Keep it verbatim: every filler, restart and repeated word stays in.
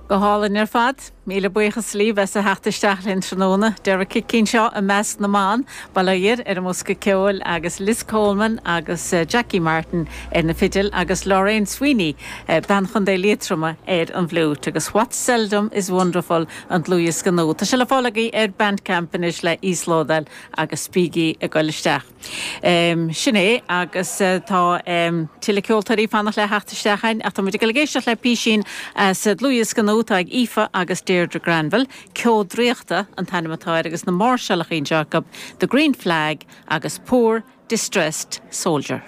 Go hálainn ar fad, míle buíochas libh as a theacht isteach linn tráthnóna, Derek Cinn seo i measc na mban, Baile ar an mbosca ceoil agus Liz Coleman agus uh, Jackie Martin ar na fidil agus Lorraine Sweeney uh, bean Chontae Liatroma ar an bhfliúit agus What Seldom is Wonderful an dlúthdhiosca nua. Tá sé le fáil agaibh ar Bandcamp anois le íoslódáil agus bígí ag dul isteach. Um, sin é agus uh, tá um, tuilleadh ceoltóirí fanacht le theacht isteach ach tá muid ag éisteacht le písín sa dlúthdhiosca nua atá ag Aoife agus Deirdre Granville, Ceo Draíochta an t-ainm atá air agus na máirseálacha acu The Green Flag agus Poor Distressed Soldier.